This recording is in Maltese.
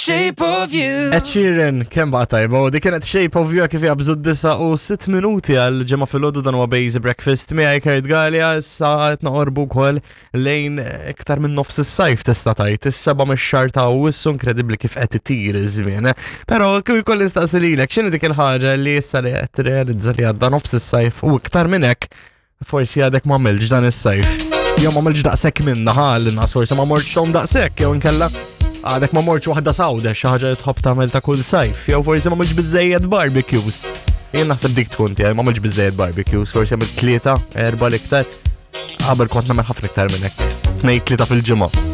Shape of you. Ed Sheeran, kemm baqa' tajba, u dik kienet Shape of You kif jabżu d-disa u sitt minuti għal ġemma filgħodu dan huwa Base Breakfast miegħi Kurt Galea issa qed noqorbu wkoll lejn iktar minn nofs is-sajf tista' tgħid is-seba' mix-xahar ta' Awwissu inkredibbli kif qed itir iż-żmien. Però kif ikolli nistaqsi lilek x'inhi dik il-ħaġa li issa li qed tirrealizza li għadda nofs is-sajf u iktar minn hekk Forsi għadek ma għamilx dan is-sajf. Jew ma għamilx daqshekk minna ħa l-inqas forsi ma mortx tom daqshekk jew inkella għadek ma mortx waħda sawda xi ħaġa li tħobb tagħmel ta' kull sajf, jew forsi ma għamilx biżejjed barbecues. Jien naħseb dik tkun tiegħi ma għamilx biżejjed barbecues, forsi għamilt tlieta, erba' l-iktar. Qabel kont nagħmel ħafna iktar minn hekk. Tnejn tlieta fil-ġimgħa.